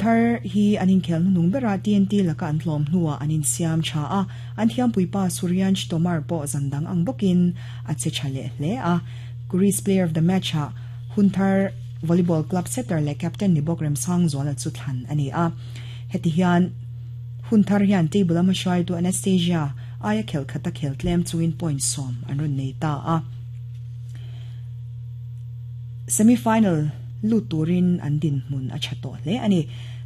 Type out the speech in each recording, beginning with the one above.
Hunthar hi an inkhel hnuhnung berah TNT laka an tlawm hnuah an insiam tha a, an thiampuipa Suryansh Tomar pawh zan dang ang bawkin a che tha leh hle a. Greece Player of the Match-ah Hunthar Volleyball Club setter leh captain ni bawk Remsangzuala chu thlan a ni a. Heti hian Hunthar hian table a hmahruaitu Anastasia aia khelh khata khel tlem chungin point sawm an rawn nei ta a. Semi-final lut turin an dinhmun a tha tawh hle a ni.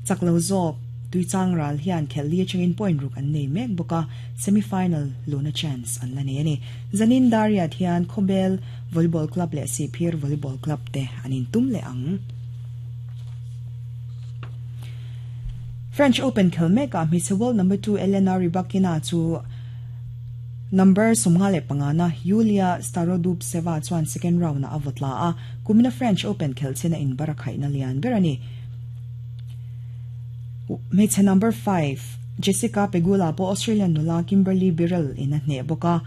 Chak lo zawk Tuichang ral hian khelh li atangin point ruk an nei mek bawk a, semi-final luna chance an la nei a ni. Zanin Dariat hian Khawbel Volleyball Club leh Sihphir Volleyball Club te an intum leh ang. French Open khel mekah hmeichhe world number 2 Elena Rybakina chu Number 55 na Yulia Starodubtseva chuan second round-ah a vaw tla a, kumina French Open khelh chin a inbar a khaihna lian ber a ni. Hmeichhe number 5 Jessica Pegula pawh Australian nula Kimberly Birrell in a hneh bawk a,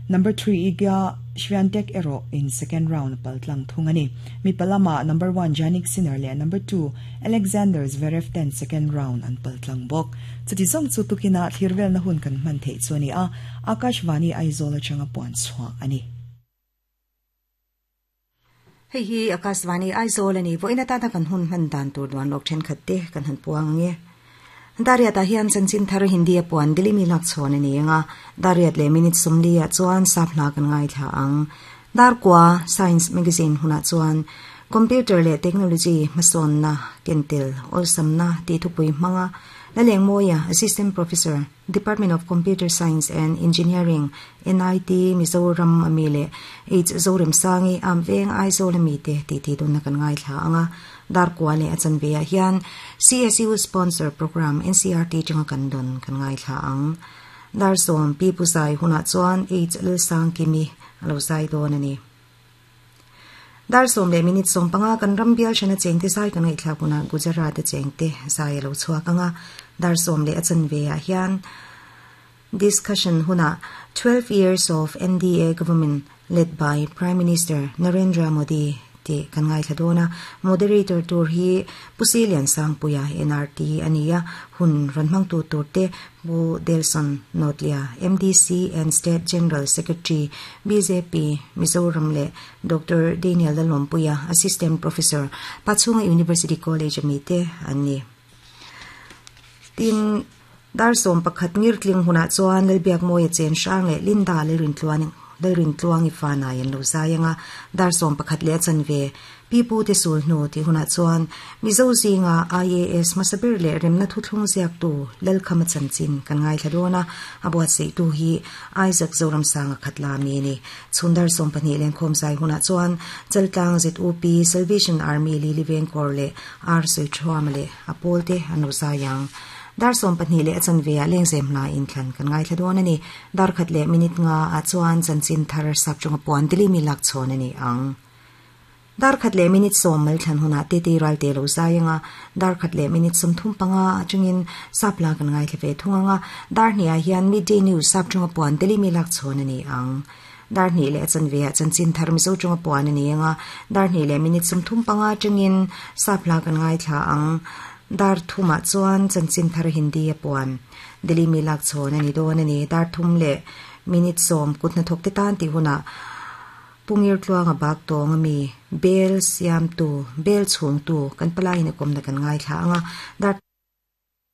number 3 Iga Swiatek erawh in second round a pal tlang thung a ni. Mipa lamah number 1 Jannik Sinner leh number 2 Alexander Zverev ten second round an pal tlang bawk. Chuti zawng chu tukinah thlir velna hun kan hman theih chu a ni a, Akashvani Aizawl atanga puan chhuah a ni. Hei hi Akashvani Aizawl a ni. Vawiin atana kan hun hman dan tur duan lawk thenkhat te kan han puang ang e. Dariat ah hian chanchin thar Hindi a puan Dilimi lak chhawn a ni ang a, Dariat leh minute sawmli ah chuan sap hla kan ngaithla ang. Darkua Science Magazine hunah chuan Computer leh Technology hmasawnna kentel awlsamna tih thupui hmanga Lalengmawia, Assistant Professor, Department of Computer Science and Engineering, NIT, Mizoram a mi leh H Zoremsangi, Amveng, Aizawl a mite tih tih dunna kan ngaithla ang a. Darkua leh a chanve ah hian CSU Sponsor Program NCRT tanga kan dawn kan ngaithla ang. Dar sawm Pi Pu Zai hunah chuan H Lalsangkimi a lo zai dawn a ni. Dar sawm leh minute sawm panga kan ram bial hrana chengte zai kan ngaihthlak hunah Gujarat a chengte zai a lo chhuak ang a, dar sawm leh a chanve ah hian discussion hunah 12 years of NDA government led by Prime Minister Narendra Modi tih kan ngaithla dawn a, moderator tur hi Pu Silian Sangpuia NRT a ni a, hun rawn hmangtu tur te Pu Delson Notlia, MDC and State General Secretary, bjp, Mizoram leh Doctor Daniel Lalawmpuia, Assistant Professor, Pachhunga University College a mite an ni. Tin, dar sawm pakhat ngirtling hunah chuan Lalbiakmawia Chen Hrang leh Linda Lalrintluan Lalrintluangi fanai an lo zai ang a, dar sawm pakhat leh a chanve Pi Pu te sul hnu tih hunah chuan Mizo zinga IAS hmasa ber leh remna thuthlung ziaktu Lalkhama chanchin kan ngaithla dawn a, a buatsaihtu hi Isaac Zoramsanga Khatla mi a ni. Chhundar 12 lenkhawm zai hunah chuan Chaltlang ZUP, Salvation Army Lili Vengkawr leh R Sawiṭhuama leh a pawlte an lo zai ang. Dar 12 leh a chanve ah lengzem hna inthlan kan ngaithla dawn a ni. Dar khat leh minute nga ah chuan chanchin thar sapṭawnga puan Dilimi lakchhawn a ni ang. Dar khat leh minute sawm mal thlan hunah titi ralte lo zai ang a, dar khat leh minute 35 atangin sap la kan ngaithla ve thung ang a, dar hnih ah hian midday news sap tawnga puan Delhi mi lak chhawn a ni ang. Dar hnih leh a chanve ah chanchin thar Mizo tawnga puan a ni ang a, dar hnih leh minute 35 atangin sap la kan ngaithla ang. Dar thum ah chuan chanchin thar Hindi a puan Delhi mi lak chhawn a ni dawn a ni. Dar thum leh minute 10 kut hnathawk te tan tih hunah Pungir tluanga bak tawng a mi, bel siamtu, bel chhungtu, kan palaiin a kawmna kan ngaithla ang a, dar.